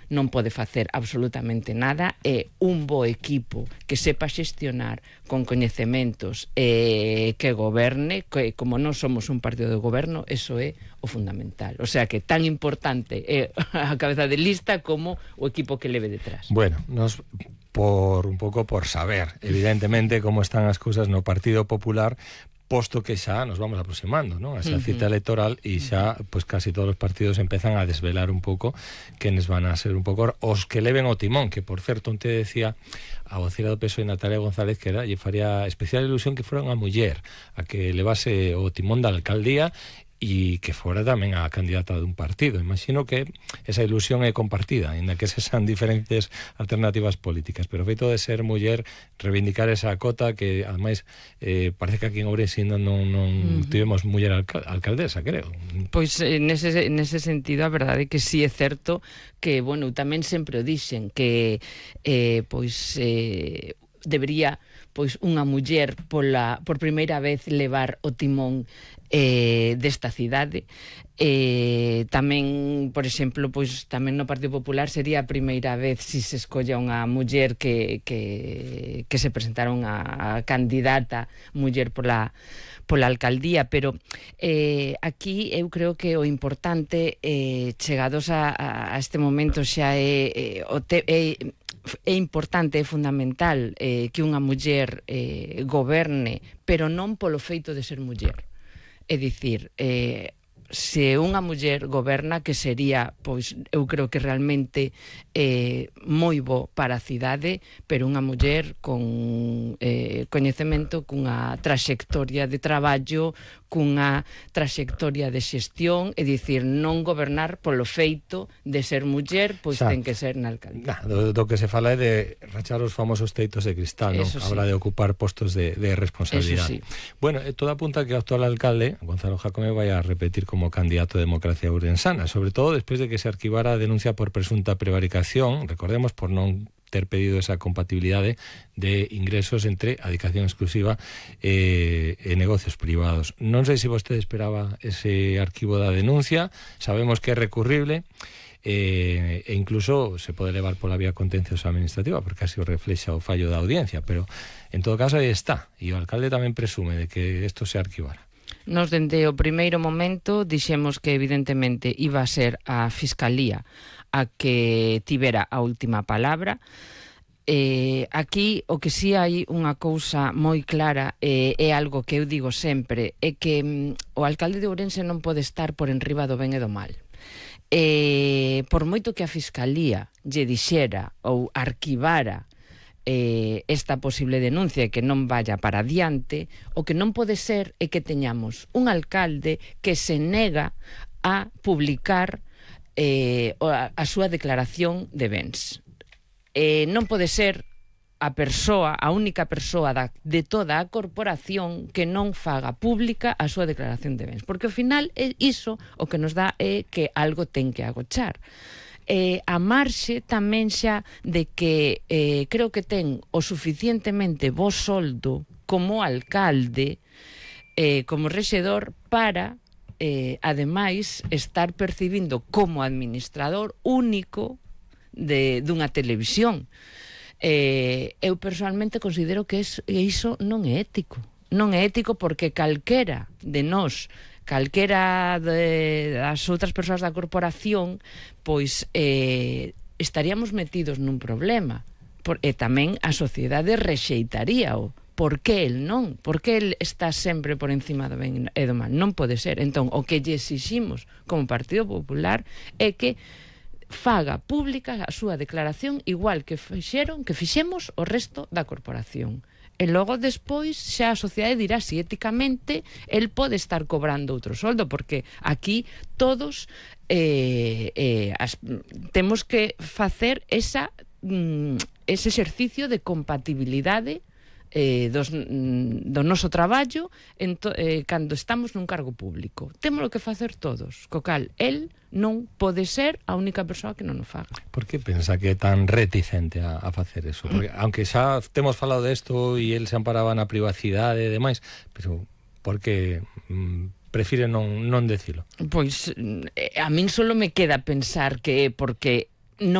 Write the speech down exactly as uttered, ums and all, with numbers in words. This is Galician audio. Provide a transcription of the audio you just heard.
non pode facer absolutamente nada, é un bo equipo que sepa xestionar con coñecementos e que goberne, que como non somos un partido de goberno, eso é o fundamental. O sea que tan importante é a cabeza de lista como o equipo que leve detrás. Bueno, nos por un pouco por saber, evidentemente, como están as cousas no Partido Popular, posto que xa nos vamos aproximando, non? A esa cita electoral e xa, pois casi todos os partidos empezan a desvelar un pouco quenes van a ser un pouco os que leven o timón, que por certo, onte decía a vocera do P S O E Natalia González que era, lle faría especial ilusión que fora unha muller a que levase o timón da alcaldía e que fora tamén a candidata dun partido. Imagino que esa ilusión é compartida, ainda que se sean diferentes alternativas políticas, pero o feito de ser muller, reivindicar esa cota que, ademais, eh, parece que aquí en Ourense non, non, non uh-huh. tivemos muller alcal alcaldesa, creo. Pois nese, nese sentido a verdade é que si sí é certo que, bueno, tamén sempre o dixen que eh, pois eh, debería pois unha muller pola, por primeira vez levar o timón eh, desta cidade. Eh, tamén, por exemplo, pois tamén no Partido Popular sería a primeira vez si se escolla unha muller que, que, que se presentara unha candidata muller pola pola alcaldía, pero eh, aquí eu creo que o importante eh, chegados a, a este momento xa é, eh, o te, é é importante, é fundamental eh, que unha muller eh, goberne, pero non polo feito de ser muller. É dicir, eh, se unha muller goberna, que sería, pois, eu creo que realmente eh, moi bo para a cidade, pero unha muller con eh, coñecemento, cunha traxectoria de traballo, cunha traxectoria de xestión, é dicir, non gobernar polo feito de ser muller, pois xa ten que ser na alcaldía. Nah, do, do que se fala é de rachar os famosos teitos de cristal, non? Sí. Habla de ocupar postos de, de responsabilidade. Sí. Bueno, eh, todo apunta que o actual alcalde, Gonzalo Jácome, vai a repetir como candidato de Democracia Ourensana, sobre todo despois de que se arquivara a denuncia por presunta prevaricación, recordemos, por non ter pedido esa compatibilidade de ingresos entre adicación exclusiva e, e negocios privados. Non sei se vostede esperaba ese arquivo da denuncia, sabemos que é recurrible, e, e incluso se pode levar pola vía contenciosa administrativa, porque así o reflexa o fallo da audiencia, pero en todo caso aí está, e o alcalde tamén presume de que isto se arquivara. Nos, dende o primeiro momento, dixemos que evidentemente iba a ser a Fiscalía a que tivera a última palabra. Eh, aquí o que si hai unha cousa moi clara, eh, é algo que eu digo sempre, é que mm, o alcalde de Ourense non pode estar por enriba do ben e do mal. Eh, por moito que a Fiscalía lle dixera ou arquivara eh, esta posible denuncia e que non vaya para adiante, o que non pode ser é que teñamos un alcalde que se nega a publicar eh, a, a súa declaración de bens. Eh, non pode ser a persoa, a única persoa da, de toda a corporación que non faga pública a súa declaración de bens, porque ao final é iso o que nos dá é que algo ten que agochar. Eh, a marxe tamén xa de que eh, creo que ten o suficientemente bo soldo como alcalde, eh, como rexedor, para eh, ademais estar percibindo como administrador único de, dunha televisión. Eh, eu personalmente considero que es, iso non é ético. Non é ético porque calquera de nós, calquera de, das outras persoas da corporación, pois eh, estaríamos metidos nun problema. Por, e tamén a sociedade rexeitaríao. Por que el non? Por que el está sempre por encima do ben e do mal? Non pode ser. Entón, o que lle exiximos como Partido Popular é que faga pública a súa declaración igual que fixeron, que fixemos o resto da corporación. E logo despois xa a sociedade dirá si éticamente el pode estar cobrando outro soldo, porque aquí todos eh, eh, as, temos que facer esa, mm, ese exercicio de compatibilidade eh, dos, do noso traballo en to, eh, cando estamos nun cargo público. Temos que facer todos, co cal el non pode ser a única persoa que non o faga. Por que pensa que é tan reticente a, a facer eso? Porque, aunque xa temos falado desto e el se amparaba na privacidade e demais, pero por que mm, prefire non, non decilo? Pois a min solo me queda pensar que é porque non